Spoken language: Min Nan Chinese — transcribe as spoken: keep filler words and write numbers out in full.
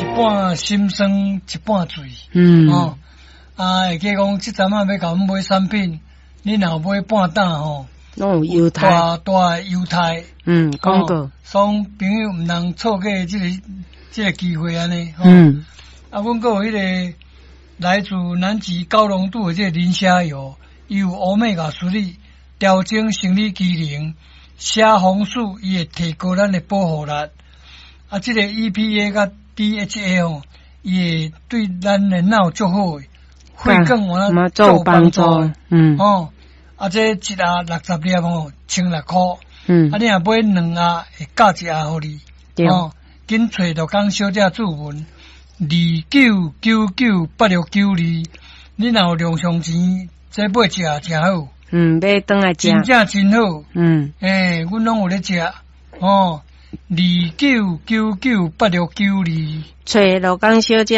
一半心酸，一半醉。嗯。哦，啊，會記講，這陣仔欲共阮買產品，你若有買半擔吼，攏有優待，大大的優待。嗯，廣告。所以朋友毋通錯過這個這個機會按呢。嗯。啊，阮閣有彼个來自南極高濃度的這個磷蝦油，伊有 Omega three 調整生理機能，蝦紅素伊會提高咱的保護力。啊，這個 E P A 佮 D H A 吼，伊會對咱的腦足好的，血管有嘛做幫助。嗯。哦，啊，這一盒六十粒吼，千六箍。嗯。啊，你若買兩盒，會加一盒予你。對。哦，緊揣陸江小姐注文，二九九九八六九二，你若有零用錢，這買食誠好。嗯，買轉來食。真正真好。嗯。欸，阮攏有咧食。哦，二九九九八六九二。揣陸江小姐。